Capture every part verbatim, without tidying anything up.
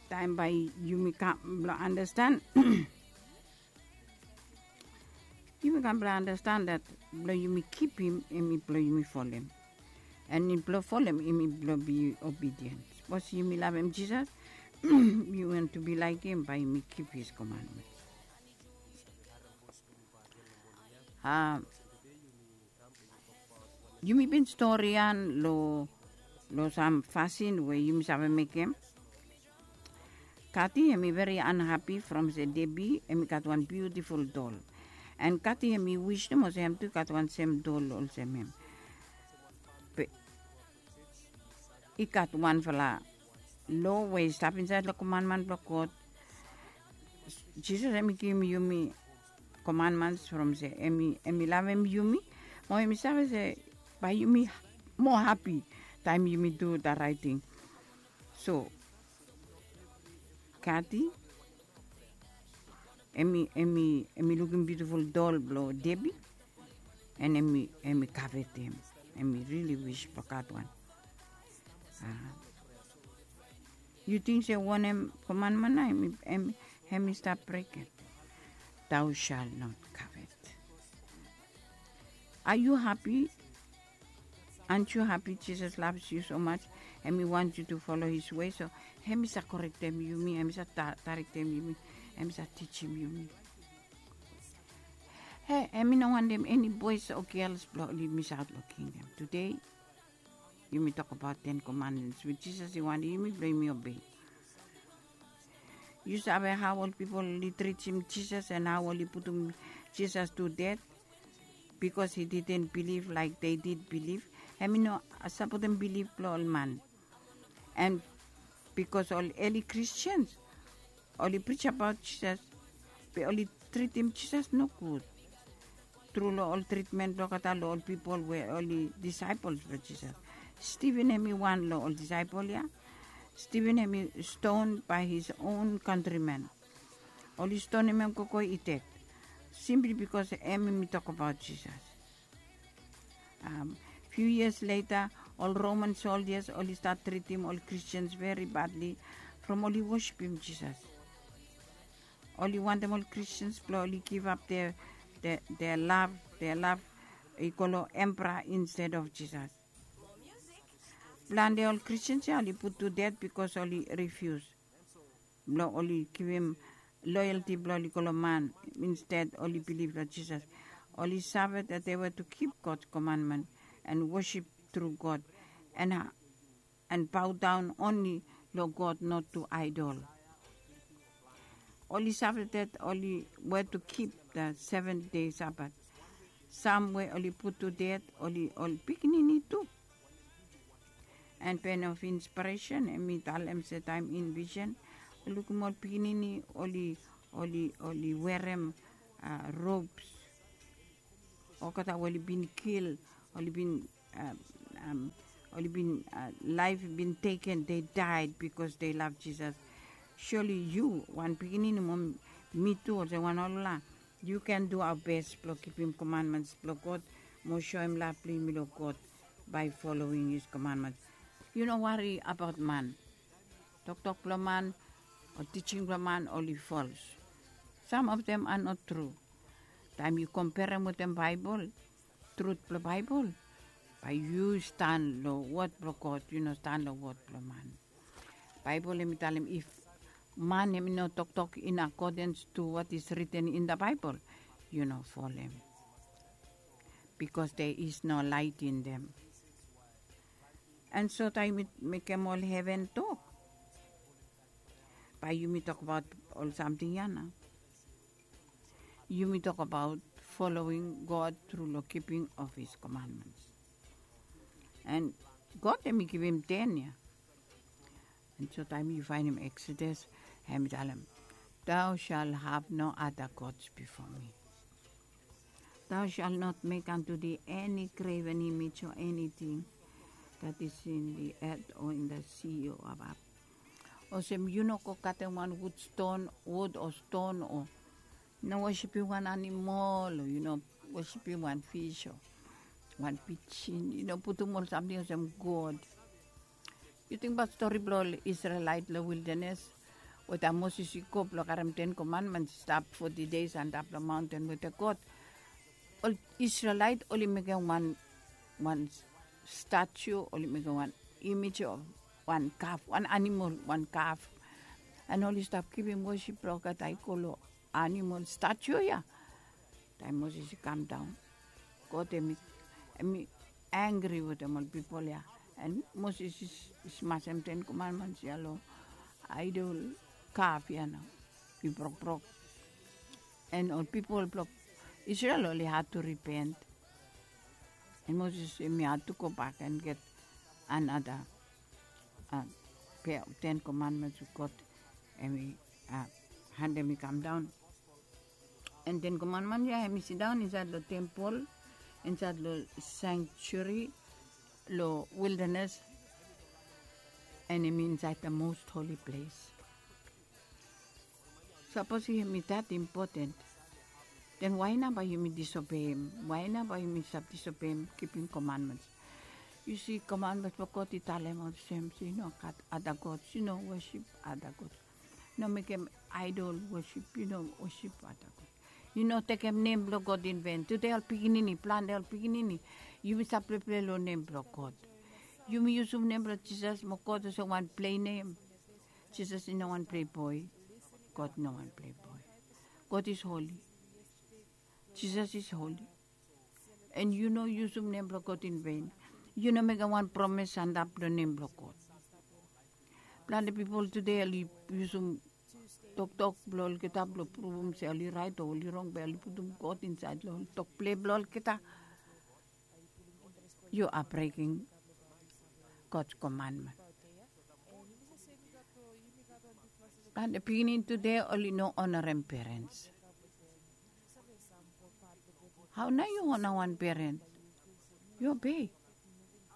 taem bae yumi kam blong andastan. Yumi kam blong andastan dat blong yumi kipim hemi blong yumi folem. An blong folem hemi blong bi obidien. Sapos yumi lavem Jisas, yumi want to be like him, bae yumi kip his commandments. A, yumi bin stori ia long, long sam fasin we yumi save mekem. Kati hemi veri unhappy from se Debbie hemi gat wan beautiful dol. An Kati hemi wis nomo se hem tu i gat wan sem dol olsem hem. Be i gat wanfala lo we i stap insaed long komanman blong God. Jisas hemi givim yumi commandments from se hemi, hemi lavem yumi, mo hemi save se bae yumi moa hapi taem yumi du da raet ting. So Kati, hemi, hemi, hemi lukim biutiful dol blong Debbie, an hemi, hemi kavetem. Hemi rili wis blong gat wan. A, yu ting se wanem komanman ia hemi, hemi, hemi stap brekem? Thou shalt not covet. Are you happy? Aren't you happy Jesus loves you so much? Hemi want you to follow his way, so hemi sa korektem yumi, hemi sa ta-, tarektem yumi, hemi sa tijim yumi. He, hemi no wantem eni boes o gels blong oli misaot long kingdom. Tede yumi tokbaot ten commandments we Jisas i wantem yumi blong yumi obei. Yu save hao ol pipol oli tritim Jisas an hao oli putum Jisas tu ded? Bikos he didn't believe like they did believe. Hemi no sapotem bilif blong ol man. An bikos ol eli Kristians oli prijabaot Jisas, be oli tritim Jisas nogud tru long ol tritmen blong olgeta long ol pipol we oli disaepol blong Jisas. Stiven hemi wan long ol disaepol ia. Stiven hemi ston bae his own kantrimen. Oli stonem hem gogo i ded simpli bikos hem hemi tokbaot Jisas. Fiu yias leta, ol Roman soldias oli stat tritim ol Kristians veri badli from oli wosipim Jisas. Oli wantem ol Kristians blong oli givap dea, dea, dea lav, dea lav i go long empera insted of Jisas. Plante ol Kristians ia oli put tu ded bikos oli rifius blong oli givim loyalti blong oli go long man, insted oli bilif long Jisas. Oli save that they were to keep God's commandment and worship through God and, and bow down only long God, not to idol. Oli save that oli were to keep the seventh day Sabbath. Sam we oli put tu ded oli ol pikinini tu. And pen of inspiresen, hemi talem se taem in visen, lukim ol pikinini oli, oli, oli werem, a, robes. Olgeta we oli bin kil, oli bin, a, am, oli bin, a, laef bin teken, they died because they love Jesus. Surely yu, wan pikinini mo mi tu, olsem wan olgeta, yu can do our best blong kipim commandments blong God mo soem lav blong yumi long God by following his commandments. Yu no wari abaot man. Toktok blong man o tijing blong man oli false. Some of them are not true. Taem yu komperem wetem Baebol, trut blong Baebol, bae yu stan long wod blong God, yu no stan long wod blong man. Baebol hemi talem if man hemi no toktok in accordance to what is written in the Bible, yu no folem. Because there is no light in them. And so taem yumi mekem ol heven tok, bae yumi tokbaot ol samting ia nao. Yumi tokbaot following God tru long kiping of his commandments. And God hemi givim ten ia. And so taem yu faenem Exodus, hemi talem, thou shalt have no other gods before me. Thou shalt not make unto thee any graven image or anything that is in the earth or in the sea or above. Olsem yu no go katem wan wud ston, wud o ston o no wosipim wan animol o yu no wosipim wan fis o wan pijin. Yu no putum ol samting olsem god. Yu tingbaot stori blong ol Isrelaet long wildanes, Weta Moses i go blong karem ten komanments i stap foti deis antap long maunten weta God. Ol Israelait oli mekem wan wan statu, oli mekem wan imej of wan kaf, wan animol, wan kaf. An oli stap givim wosip blong olgeta i go long animol statu ya. Taem Moses i kam daon, God em i em i angri wetem ol pipol ya. An Moses i smasem ten komanments ya long aidol kaf ya nao. I brokbrok. An ol pipol blong Israel oli had tu ripent. An Moses em i had tu gobak an get anada pea of ten komanments we God em i handem i kam daon. An ten komanmen ya em i sidaon insaed long tempol, insaed long sanctuary, long wildanes, an em i insaed the most holy place. Sapos em i that important, then wae nao bae yumi disobeim? Wae nao bae yumi stap disobeim kipim komanmens? Yu si, komanmens blong God i talem olsem se yu no gat ada gods, yu no wosip ada gods, no mekem aedol wosip, yu no wosip ada gods, yu no tekem nem blong God in ven. Tude ol pikinini, plante ol pikinini, yumi stap pleple long nem blong God. Yumi yusum nem blong Jisas mo God olsem wan plei nem. Jisas i no wan plei boe. God i no wan plei boe. God is holy. Jisas is holy. An yu no yusum nem blong God in ven. Yu no mekem wan promes antap long nem blong God. Plante pipol tude oli yusum toktok blong olgeta blong pruvum se oli raet o oli rong, be oli putum God insaed long tok ple blong olgeta. Yu a breking God's komanmen. Plante pikinini tude oli no onarem perens. Hao nao yu ona wan perens? Yu obei,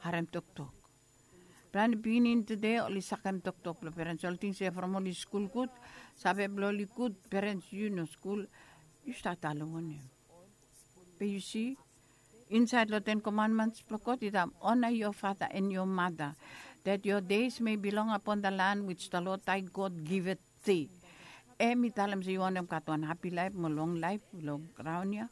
harem toktok. Plante pikinini tude oli sakem toktok blong perens. Oli ting se from oli skul gud, save blong oli gud, perens yu no skul, yu stat talem wanem? Be yu si, insaed long ten komanmens blong God i talem, honor your father and your mother, that your days may be long upon the land which the Lord thy God giveth thee. Em i talem se yu wantem gat wan hapi laef mo long laef long graon ya,